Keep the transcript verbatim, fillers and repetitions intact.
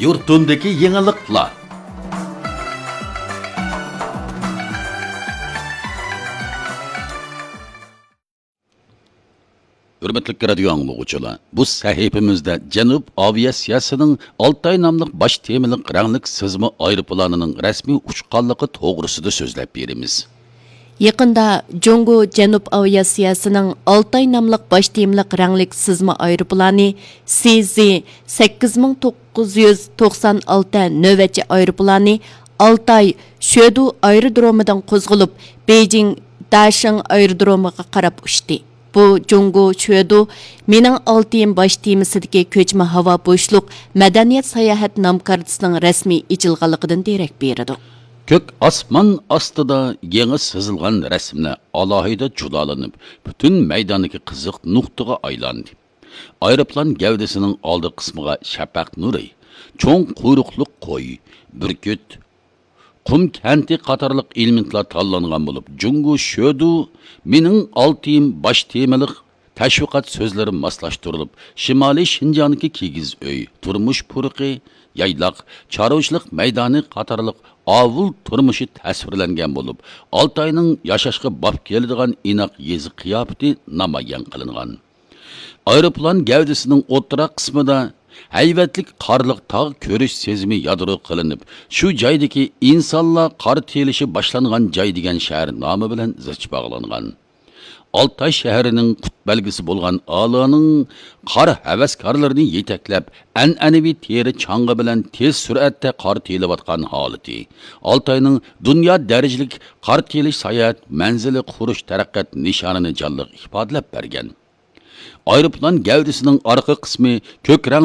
يۇرتۇمدىكى يېڭىلىقلار. ھۆرمەتلىك رادىيو ئاڭلىغۇچىلار، بۇ سەھىپىمىزدە جەنۇب ئاۋىئاتسىيەسىنىڭ ئالتاي ناملىق باش تېمىلىق رەڭلىك سىزما ئايروپىلانىنىڭ رەسمىي ئۇچقانلىقى توغرىسىدا سۆزلەپ بېرىمىز. يېقىندا جۇڭگو جەنۇب ئاۋىئاتسىيەسىنىڭ ئالتاي ناملىق باش تېمىلىق رەڭلىك سىزما ئايروپىلانى سى زى سەككىز مىڭ توققۇز يۈز توقسان ئالتە نۆۋەتچى ئايروپىلانى ئالتاي شۆدۇ ئايرودرومىدىن قوزغىلىپ، بېيجىڭ داشىڭ ئايرودرومىغا قاراپ ئۇچتى. بۇ جۇڭگو شۆدۇ مېنىڭ ئالتىيىم باش تېمىسىدىكى كۆچمە ھاۋا بوشلۇق مەدەنىيەت ساياھەت نام كارتىسىنىڭ رەسمىي ئېچىلغانلىقىدىن دېرەك بېرىدۇ. كۆك ئاسمان ئاستىدا يېڭى سىزىلغان رەسىملەر ئالاھىدە جۇدالىنىپ، پۈتۈن مەيداندىكى قىزىق نۇقتىغا ئايلاندى. ئايروپىلان گەۋدىسىنىڭ ئالدى قىسمىغا شەپەق نۇرى، چوڭ قۇيرۇقلۇق قوي، بۈركۈت، قۇم كەنتى قاتارلىق ئېلېمېنتلار تاللانغان بولۇپ، جۇڭگو شۆدۇ مېنىڭ ئالتىيىم باش تېمىلىق تەشۋىقات سۆزلىرى ماسلاشتۇرۇلۇپ، شىمالىي شىنجاڭدىكى كىگىز ئۆي، تۇرمۇش پۇرىقى، يايلاق، چارۋىچىلىق مەيدانى قاتارلىق ئاۋۇل تۇرمۇشى تەسۋىرلەنگەن بولۇپ، ئالتاينىڭ ياشاشقا باب كېلىدىغان ئىناق يېزا قىياپىتى نامايان قىلىنغان. ئايروپىلان گەۋدىسىنىڭ ئوتتۇرا قىسمىدا ھەيۋەتلىك قارلىق تاغ كۆرۈش سېزىمى يادرو قىلىنىپ، شۇ جايدىكى ئىنسانلار قار تېيىلىشى باشلانغان جاي دېگەن شەھەر نامى بىلەن زىچ باغلانغان. ئالتاي شەھىرىنىڭ قۇت بەلگىسى بولغان ئالىنىڭ قار ھەۋەسكارلىرىنى يېتەكلەپ، ئەنئەنىۋى تېرە چاڭغا بىلەن تېز سۈرئەتتە قار تېيىلىۋاتقان ھالىتى، ئالتاينىڭ دۇنيا دەرىجىلىك قار تېيىلىش ساياھەت مەنزىلى قۇرۇش تەرەققىيات نىشانىنى جانلىق ئىپادىلەپ بەرگەن. ئايروپىلان گەۋدىسىنىڭ ئارقا قىسمى كۆك رەڭ